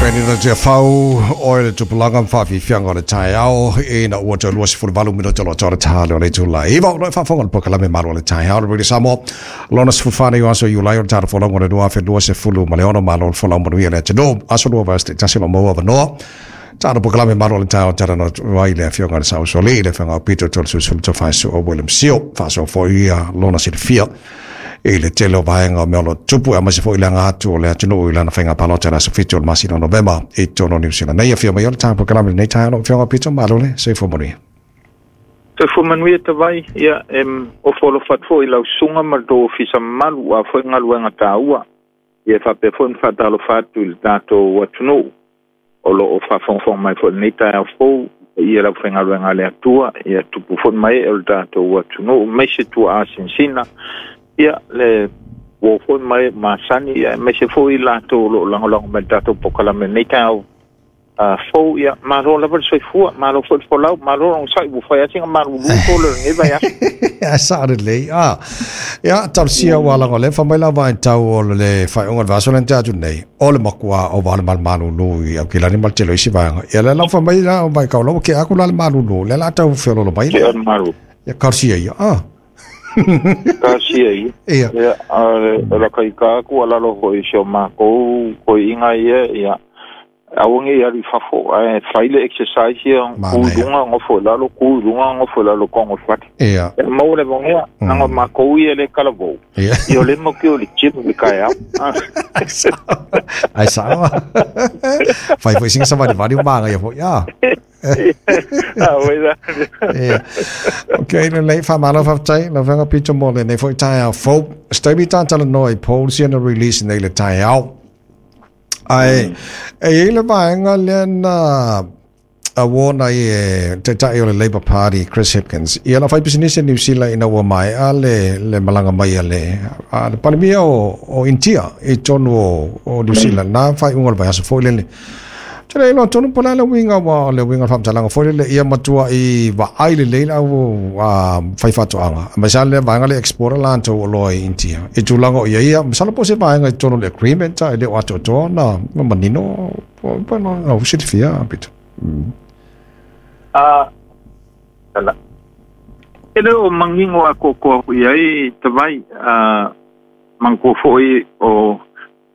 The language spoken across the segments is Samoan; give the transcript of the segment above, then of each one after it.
Penina Tiafau, oe le tupulaga ma faafiafiaga o le taeao, ina ua toe 28 minute o lo o toa le ta lea o le itula e 9. O lo o faafofoga i le polokalame Malu o le Taeao, le Radio Samoa, lona 14 nei o aso Iulai o le tala folauga o le 2026. Malo le folau manuia le atunuu. Aso lua vaiaso taitasi o lo o maua avanoa. Tala polokalame Malu o le Taeao talanoa atu ai le Afioga i le Saosoalii, le Afioga o Peter Tolesulusulu Tofaesu o William Sio. Faasoa foi ia lona silafia i le tele o vaega o mea o lo o tutupu, aemaise foi le aga atu o le atunuu i lana faiga palota i le aso 7 o le masina o Novema i totonu o Niu Sila nei. Afio mai o le tatou polokalame i lenei taeao lau Afioga Peter, malo le soifua manuia. Soifua manuia Tavai, ia e ofo alofa atu foi i lau susuga ma le tou ofisa mamalu aua foi galuega taua. Ia e faapea foi ona faatalofa atu i le tatou atunuu o lo o faafogafoga mai foi i lenei taeao fou, i paia o le aufaigaluega a le Atua, ia tupu foi ma ee o le tatou atunuu, aemaise tuaa sinasina, ia le uo foi ma ee masani, ia aemaise foi i latou o lo o lagolago mai i le tatou polokalame i lenei taeao fou. Ia malo lava le soifua, malo foi le folau, malo le onosai, ua fai lava sina malulu tole o lenei vaiaso. Ae sao lelei. Ah, ia, talosia ua laga o lea fai mai la vaitau o le faaiuga o le vaiaso lea na tea atu nei, o le matua ova o le malulu i Aukilani ma le tele o isi vaega. Ia lea la fai mai la o vaitau la ua kea atu la le malulu, lea la tau feololo mai. Kea le malulu. Ia talosia ia. Ah. Talosia ia. Ia. Ia, a o la kai ka aku alalo hoi si o mākou koiʻiga ia, ia. Aua ne i alu i fafo, ae fai le exercise ia, ku i luga, nofo i lalo, ku i luga, nofo i lalo, kogo i fale. Ia. E maua le avanoa, leaga o matou ia le talavou, Ia. ia o lea matou te o i le gym i le taeao. Ai sao. Fai foi sina savalivali o manaia foi. Ah. Ah, oi la. Ia. Okay, lelei, faamalo faafetai lau Afioga Peter mo lenei foi taeao fou. Se taimi ta talanoa i polls ia na release nei i le taeao. Ae e i ai le vaega lea na award ai e taitai o le Labour Party Chris Hipkins ia lau faipisinisi a Niu Sila ina ua maea le, le malaga mai a le, a le Palemia o, o Initia i totonu o, o Niu Sila na faaiuga o le vaiaso foi lele. Te le iloa tonu po o le a le uiga aua o le uiga o le faamatalaga foi lele ia matuai vaai lelei le au fai faatoaga aemaise lava le vaega lea e exporter latou oloa i India i tulaga o i ai ia masalo po o se vaega i totonu o le agreement e le o atoatoa ona manino po o silafia Peter. A e le o manino atoatoa i ai Tavai, a manatua foi o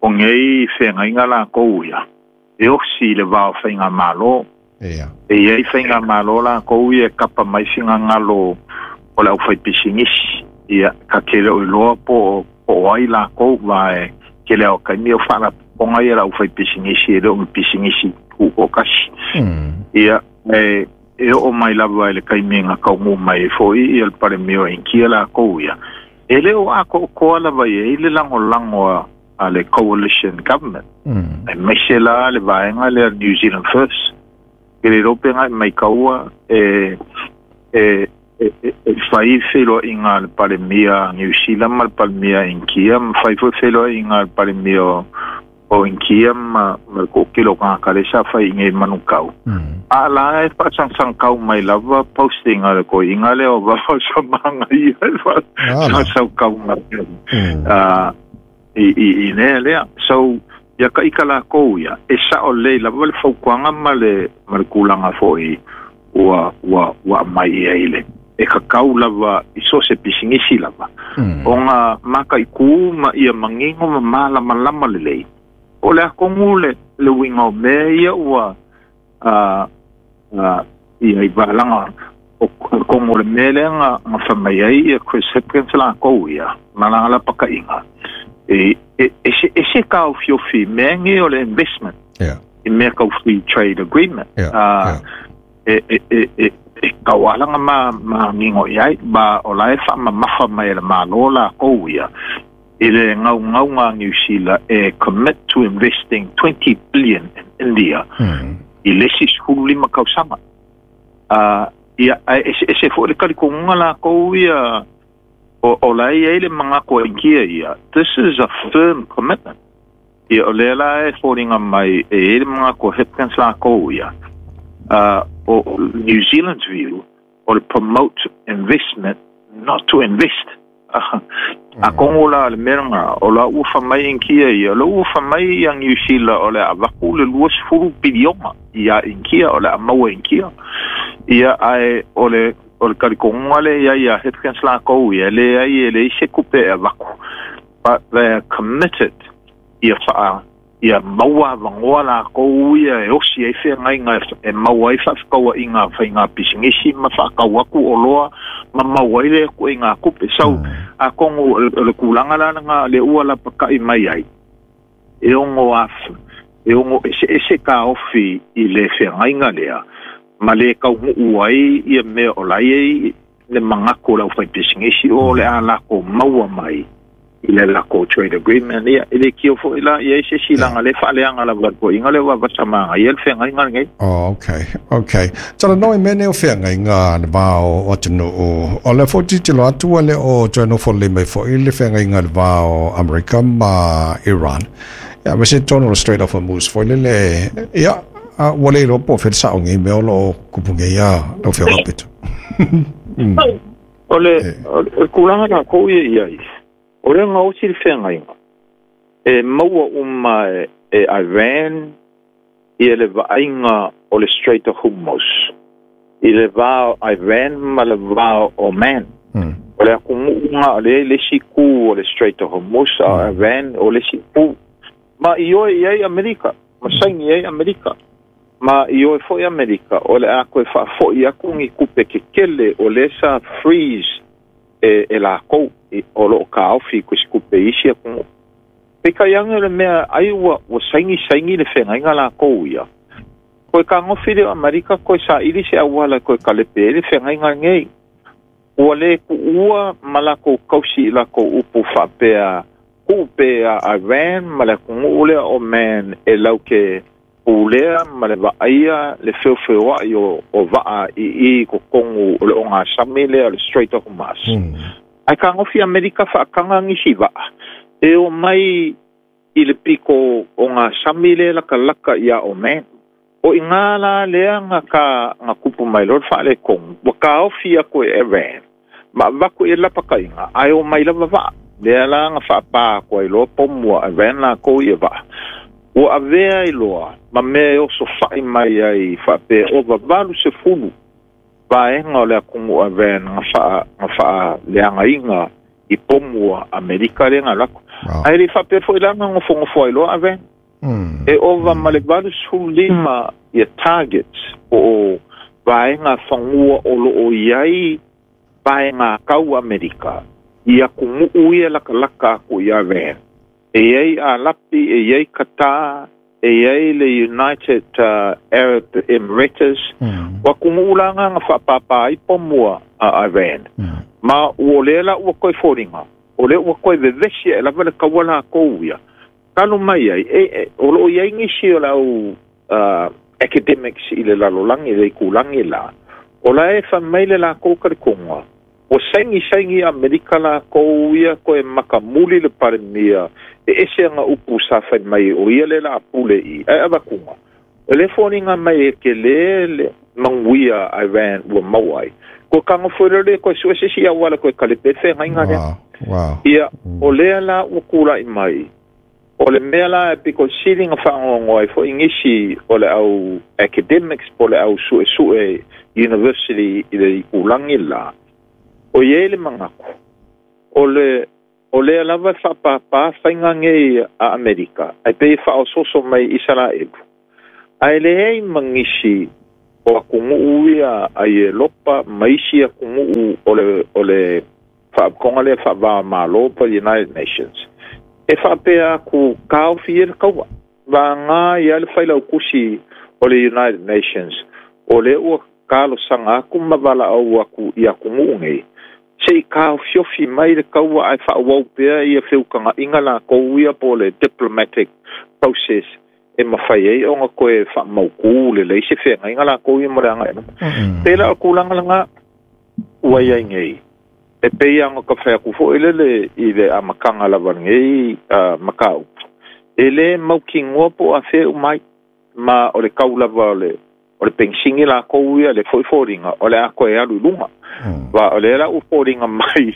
O nei feagaiga lakou ia, e osi i le va o faigamalo. Ia. E i ai faigamalo lakou ia e kapa mai finagalo o le aufaipisinisi. Ia, ta te le o iloa po o, po o ai lakou, aua e tele lava o taimi o faalapotopotoga ia a le aufaipisinisi e le o ni pisinisi tutoatasi. Ia, e, e oo mai lava i le taimi na taunuu mai ai foi ia le Palemia o Initia lakou ia, E le o atoatoa lava i ai le lagolago a le Coalition Government, aemaise la le vaega lea New Zealand First. Ke le iloa pe na e maitaua e, e, e, e fai feiloaiga a le Palemia Niu Sila ma le Palemia Initia, ma fai foi feiloaiga a le Palemia o o Initia ma, ma le toatele o tagata lea sa fai i inei i Manukau. A la e faasagasagakau mai lava posting a le toeaina lea o Vaosamagaia e faasagasagakau mai i, i, i lea lea. So, ia ka ika lakou ia, e sao lelei lava le fautuaga ma le, ma le tulaga foi ua, ua, ua aumai i ai le, e tatau lava i so o se pisinisi lava, ona mataitu ma ia manino ma malamalama lelei, po o le a tonu le, le uiga o mea ia ua, a, a, ia i valaga o tonu o le mea lea na, na fai mai ai ia Chris Hipkins lakou ia, ma lana lapataiga, e, e eseese taofiofi i mea nei o le investment. Yeah. I mea tau free trade agreement. Yeah, yeah. E, e, e, e, e taualaga ma, manino i ai, ma o la e faamamafa mai e le Malo lakou ia, i le gaugauga a Niu Sila e commit to investing 20 billion in India i le isi 15 tausaga. Ia, ae eseese foi le talitonuga lakou ia, o, o la e i ai le manatu a Initia ia, this is a firm commitment. Ia, o lea la e foliga mai e i ai le manatu o Hipkins lakou ia, o New Zealand's view, o le promote investment, not to invest. A kongo la le mea o la ua faamai Inikia ia, o la ua faamai ia Niu Sila o le avaku le 20 piliona ia Inikia o le a maua Inikia. Ia ae o le kalikoga le ia ia Hipkins lakou ia le ai e le ise kupe e avaku. But they are committed ia whaa ia maua vangoa lakou ia e osi ai feagaiga e maua ai faafekauaʻiga faiga pisinisi ma faakau aku o loa ma maua ai le kuiga kupe. So a kongo o le kulaga lalaga le ua lapakaʻi mai ai e ogo afu e ogo eseese kaofi i le feagaiga lea ma le kauguu ai ia mea o lai ai le magako o le aufaipisinisi o le a lakou maua mai i le lakou trade agreement ia e le kio foʻi la ia i se silaga le faaleaga lava le poʻiga le ua vasamaga ia le feagaiga lenei. Oh, okay, okay. Talanoa i mea nei o feagaiga le va o atunuu. O le foʻi tilotilo atu ua le o toe nofo lelei mai foʻi le feagaiga le va o Amerika ma Iran. Ia, ma se tonu o le Strait of Hormuz foʻi lele. Ia, ua le iloa po o fea le sao nei mea o lo o kupu nei a lau Afioga Pito. O le kulaga lakou ia i ai, o le gaosi le feagaiga e maua uma e Iran ia le vaaiga o le Strait of Hormuz i le va o Iran ma le va o Oman. O le akunuʻuga o le le isi ku o le Strait of Hormuz a Iran o le isi ku. Ma i oe i ai Amerika, ma saini ai Amerika. Ma i oe foʻi Amerika o le a koe faafoʻi aku ni kupe kekele o le sa freeze e lakou o loo kaofi ko se kupe isi akunuʻu. Peitai ane o le mea ai ua saini saini le feagaiga lakou ia. Koe kagofi le o Amerika koe saʻili se auala koe kalepe ai le feagaiga nei. Ua le kuʻua ma lakou kausi i lakou upu faapea kuʻu a Iran ma le akunuʻu lea o Man e lauke pulea ma le vaaia le feofeoaʻi o vaa i totonu o le ogasami lea o le Strait of Hormuz. Ae kagofi Amerika faakaga nisi vaa e o mai i le piko ogasami lea lakalaka ia Oman. O i ngā la lea nga ka nga kupu mai loa le faaletonu ua kaofi aku e Iran ma avaku i lapakaiga ae o mai lava vaa lea la nga faapā aku ai loa pomua Iran lakou ia vaa. Ua avea i loa ma mea e oso faʻi mai ai faapea o 80 vaega o le akunuʻu Iran nga faaleagaiga i pomua Amerika lea ga lako. Ae le faapea foʻi la ga gofogofo ai loa Iran. E ova ma le 85 ia targets o vaega fagua o loo iai vaega kau Amerika i akunuʻu ia lakalaka aku i Iran. E iai Alapi, e iai Qatar, e iai le United Arab Emirates. Ua kunuʻu laga ga faapāpā ai pomua a Iran. Ma ua lea la ua koe foliga, o lea ua koe vevesi e lava le kaua lakou ia. Kalo mai ai, o loo iai nisi o lau academics i le lalolagi le ikulagi la, o la e faamai le lakou ka le koga. Ua saini saini Amerika lakou ia koe makamuli le palemia e ese aga upu sa fai mai o ia le la pule i ae avakuga. O le foliga mai e kelē le manuia Iran ua maua ai. Koe kagofo le koe sue se isi auala koe kalepe le feagaiga lea. Ia o lea la ua kulaʻi mai. O le mea la e piko sili nga faagoagoa ai foʻi nisi o le au academics po le au suesue university i le ikulagi la. O iai le magaku. O lea lava e faapāpā faiga nei a Amerika ae pei e faaososo mai Isaraelu. Ae leai ma nisi o akunuʻu ia a Ielopa ma isi akunuʻu o le faapotopotoga lea faavāmālō pa United Nations. E faapea aku kaofi ia le kaua. Vagā ia le failaukusi o le United Nations o lea ua kalosaga aku ma valaau aku i akunuʻu nei. Se i kaofiofi mai le kaua ae faaauau pea ia feukagaʻiga lakou ia po le diplomatic process e mafai ai ona koe faamaukū lelei se feagaiga lakou ia mo le agaʻi luma. Pela o kulagalaga ua iai nei. E pei aga ka fai aku foʻi lele i le amataga lava lenei mataupu. E lē mautinoa po o afea umai ma o le kau lava o o le penisini lakou ia le fo'i foliga o le a toe alu i luga. Va o lea la ua foliga mai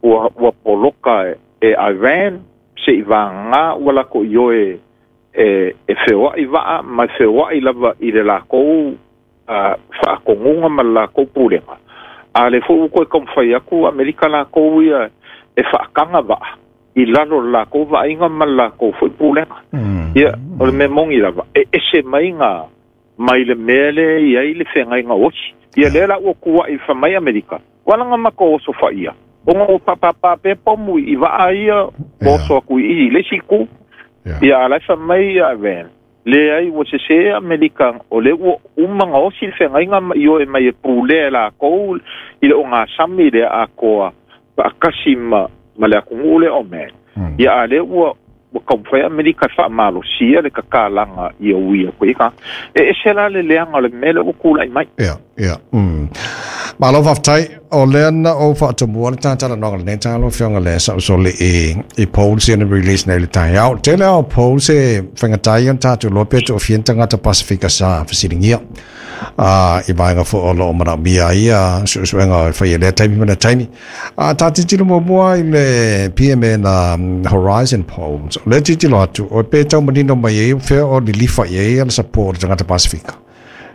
ua poloka e Iran se'i vagagā ua lakou ioe e feoa'i va'a ma e feoa'i lava i le lakou fa'atonuga ma le lakou pulega. A le fo'i ua toe taumafai atu Amerika lakou ia e fa'ataga va'a i lalo o le lakou va'aiga ma le lakou fo'i pulega. Ia o le mea mogi lava e ese mai ga mai le mea lea i ai le fegaiga osi. Ia lea la ua tua'i famai Amerika ua laga matou oso fa'ia ona ua pāpāpā pea pomu i va'a ia oso atu i i le isi itu. Ia a lae famai ia Iran leai ua sesē Amerika o le ua uma gaosi le fegaiga ma ioe mai e pulea e lakou i le ogasami lea atoa fa'atasi ma le atunuu lea o man. Ia a lea ua taumafai Amerika e fa'amalosia le tatalaga ia ui atu ai ka e ese la le leaga o le mea lea ua tula'i mai. Ia. Malo fa'afetai o lea na ou fa'atomua le tatalanoaga lenei taeao lau Afioga le Sa'usoli i polls ia na release nei le taeao. Tele ao polls e faigatā ia ona tatou iloa pe to'afia ni tagata Pasifika sa fesiligia i vaega fo'i o lo'o mana'omia ai ia su'esu'ega e faia i lea taimi ma lea taimi. A ta tilotilo muamua i le PMN Horizon Polls, o lea tilotilo atu o pe tau manino mai ai fea o lilifa i ai le support o tagata Pasifika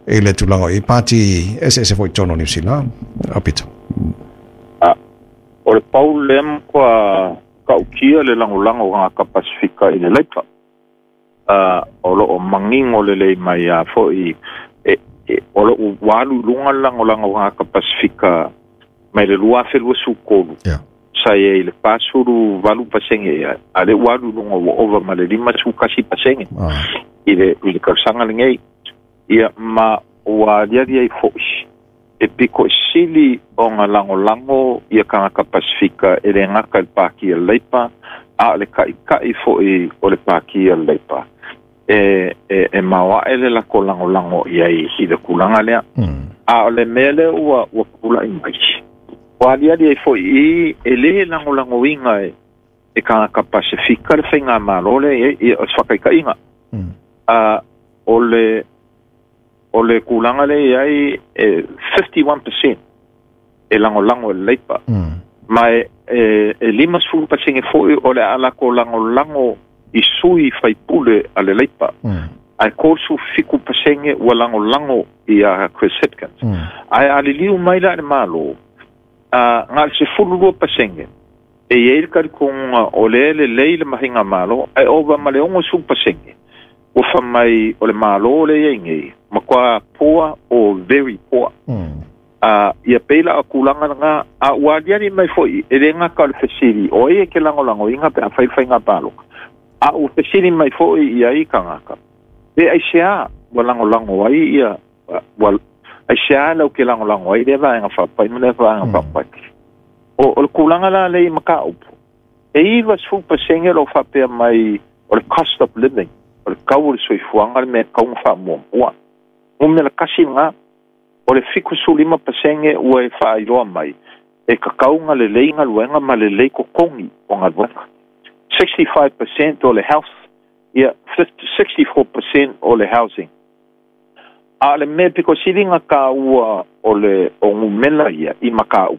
i le tulaga o i pati eseese fo'i i totonu o Niu Sila. Aupito. O le pau lea matua ta'utia le lagolago o tagata Pasifika i le Leipa. O lo'o manino lelei mai a fo'i o lo'o ua alu i luga le lagolago o tagata Pasifika mai le 2023. Sa i ai le 48% ea a le ua alu i luga ua ova ma le 51% i le tausaga lenei. Ia ma ua aliali ai fo'i e piko sili o ga lagolago ia tagata Pasifika e lē gata i le Pātia Leipa a o le ta'ita'i fo'i o le Pātia Leipa e maoa'e le latou lagolago i ai i le tulaga lea. A o le mea lea ua tula'i mai ua aliali ai fo'i i e lē lagolagoina e tagata Pasifika le faigamālō lea ia o se fa'ataita'iga. O le tulaga lea i ai e 51% e lagolago e le Leipa. Ma e 50% fo'i o le a lakou lagolago i sui faipule a le Leipa. Ae 37% ua lagolago ia Chris Hipkins. Ae aliliu mai la i le Mālō ga le 12% e iai le talitonuga o lea lelei le mahiga malo ae ova ma le 60% ua famai o le Mālō le iai nei matua poor or very poor. Ia pei la o tulaga lagā a ua aliali mai fo'i e lē gata o le fesili o ai e ke lagolagoina pe a fai faiga paloka a ua fesili mai fo'i ia i tagata pe aiseā ua lagolago ai ia ua aiseā lau ke lagolago ai lea vaega fa'apai ma lea vaega fa'apai. O le tulaga la lei mataupu e 90% lo fa'apea mai o le cost of living o le tau o le soifuaga le mea tauga fa'amuamua numera kasi lagā. O le 75% ua e fa'ailoa mai e tatau lelei galuega ma lelei totogi o galuega. 65% o le health, ia 64% o le housing. A o le mea piko siliga tāua o le o gumela ia i maka'u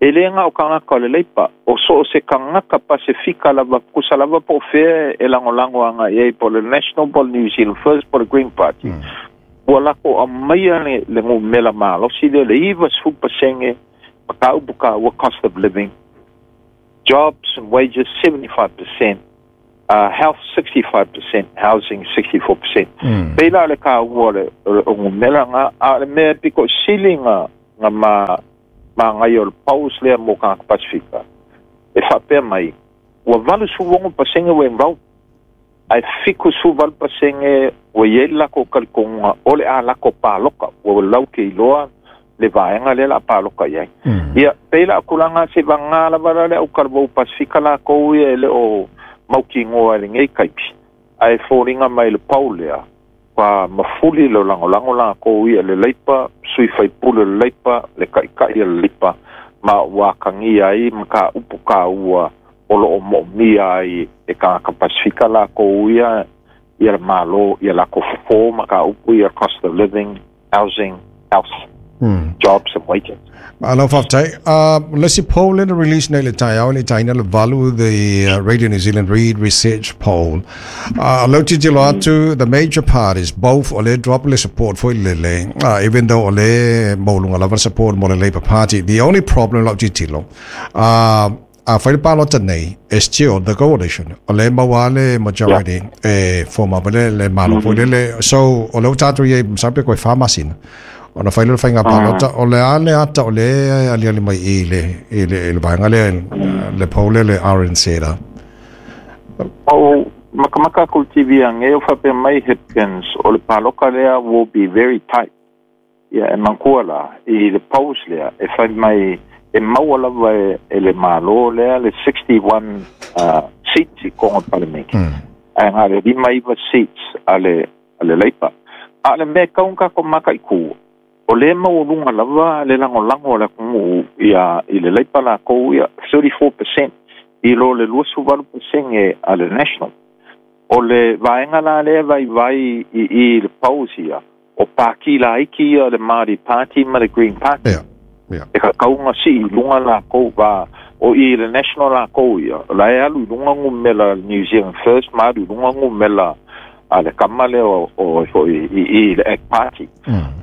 e lē ga o tagata o le Leipa o so o se tagata Pasifika lava kusa lava po o fea e lagolago aga'i ai po o le National po o le New Zealand First po o le Green Party. Ua lakou aumaia le gumela malosi lea le 90% mataupu kāua cost of living, jobs and wages 75%, health 65%, housing 64%. Pei la o le kāua o gumela ga a o le mea piko sili ga ma magai o le polls lea mo tagata Pasifika e fa'apea mai ua 86% ua enroll ae 78% ua iai le lakou talitonuga o le a lakou paloka ua lau ke iloa le vaega lea la paloka i ai. Ia pei la o tulaga se vagā lava la le aukalavou Pasifika lakou ia e le o mautinoa i lenei kaipi ae foliga mai le pau lea pa mafuli le lagolago lakou ia le Leipa sui faipule le Leipa le ta'ita'i a le Leipa ma ua akagia ai ma kāupu kāua o lo'o mo'omia ai e tagata Pasifika lakou ia Ia le Malo ia lakou fofo mataupu ia, cost of living, housing, health, jobs and wages. Malo faafetai. Le isi poll lea na release nei i le taeao i le taina le 8, the Radio New Zealand Reid Research Poll. O lea ou tilotilo atu, the major parties both o lea drop le support foi lele, even though o lea maualuga lava le support mo le Labour Party. The only problem lau tilotilo, a fai le palota nei, e still the coalition o lea maua le majority e form up le Malo foi lele. So o lea ua tatou i ai, masalo pe koe 4 masina ona fai lea o le faiga palota. O le a le ata o le aliali mai i le vaega lea, le poll lea, le RNZ a? O makamaka ko TV ange o faapea mai Hipkins o le paloka lea will be very tight. Ia e manatua la i le polls lea e fai mai e maua lava e le Malo lea le 61 seats i konga parliament. Ae ngā le 59 seats a le Labour. A le mea kaunga ko maka i ku. O le maualuga lava le lagolago a le atunuu ia i le Labour lakou ia 34% i lo le 28% a le National. O le vaega la lea vaivai i le polls ia, o pāti laiti ia, le Māori Party ma le Green Party. E ka kaunga si i lunga lakou va o i le National lakou ia. La e alu i lunga numera New Zealand First ma alu i lunga numera a le kama lea o i le ACT Party.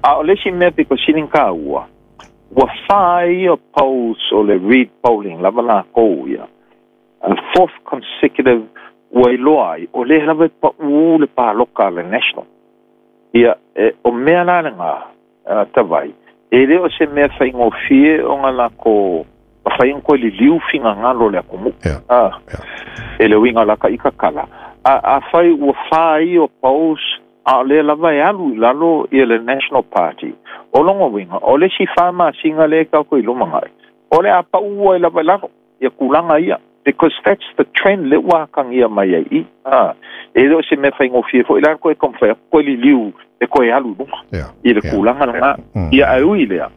A o le isi mea pito sili ka ua, ua fa ia polls o le Reid polling lava lakou ia. A fourth consecutive ua iloa ai, o le lava e pau le paloka a le National. Ia, e, o mea la lenga, tavai, e le o se mea faigofie ona lako mafai ona koe liliu finagalo le atunuu. Ah, e le uiga la ka ika kala. A fai ua fa ia o polls, a o lea lava e alu i lalo ia le National Party. O longa uiga, o le isi 4 masina le ka ko i lumagai. O le a pau ai lava i lalo, ia kulaga ia. Because that's the trend le ua kangia mai ai i. Ah, e le o se mea faigofie foi la koe komwhai, koe liliu e koe alu i luga. I le kulaga lena. Ia ai ui lea.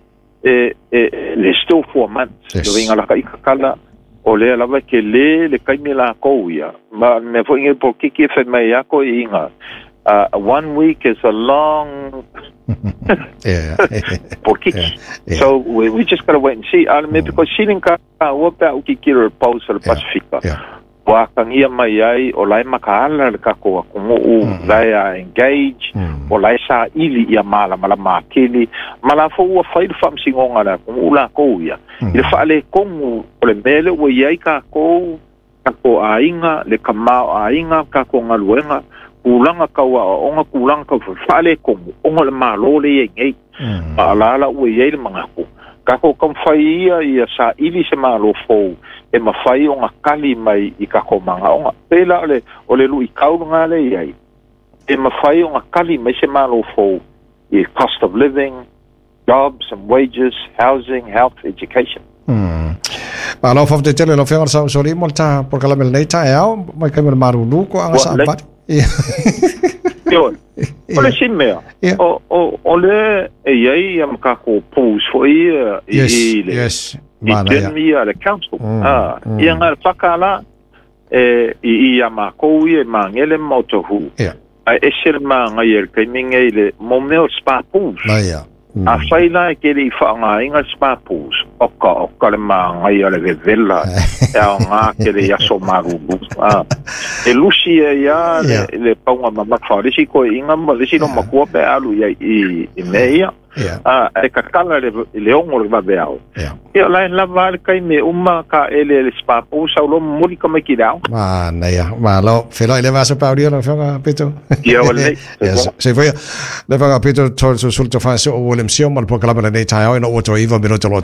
E, there's still 4 months. Le uiga la ka ika kala, o lea lava ke le le kaimi la kou ia. Ma me foi nge po kiki e whai mai ako i inga. One week is a long po kiki. So we just gotta wait and see. Me because siling ka ua pe au kikiro e polls o le Pasifika. Ua kangia mai ai o lai makaala le kako atunuu, lai a engage, o lai sa ili ia malamalama akili. Ma la fo ua fai le faamasinoga le atunuu lakou ia. I le faaletonu o le mea lea ua i ai kakou, kako aiga, le kamā o aiga, kako galuega, kulaga tau aoaoga, kulaga tau faaletonu, ona o le Malo le iai nei. Ma alala ua i ai le manatu. Kako taumafai ia ia saili se Malo fou e mafai ona kali mai i kako magaoga. Pei la o le luitau lena le i ai. E mafai ona kali mai se Malo fou i cost of living, jobs and wages, housing, health, education. Malo faafetai tele lau Afioga sa usoli mo le ta polokalame lenei taeao mai kai mo le malulu ko anga Ua sa lei. pati. Ia. Ioe. O le isi mea, o le e iai ia ma kako polls foi ia i, i le i Mana ia. gym ia le council. Ah, ia ngā whakala e i ia mākou ia e mangele ma o tohu. Ai ese le maangai e le kaiminga i le mo mea o spa pools. Na ia. A whai la e kere i whaangainga spa pools. Oka le maangai a le vevela e ao ngā kere i aso marulu. Ah. E lusi e ia le paunga mamafa. Le si koe inga ma le si no makua pe alu ia i mea ia. Ah, e kakala le ongo le vave ao. Ia lai lava le kai me uma ka ele le spa pools au lo muli ka mai ki rao. Mana ia. Malo. Feloi le vaso pau lau Afioga Peto. Ia o lelei. Ia, se foi. Le Afioga Peto Toeolesulusulu Tofasi o William Sio ma le polokalame lenei taeao ina ua toe 9 minuta loa.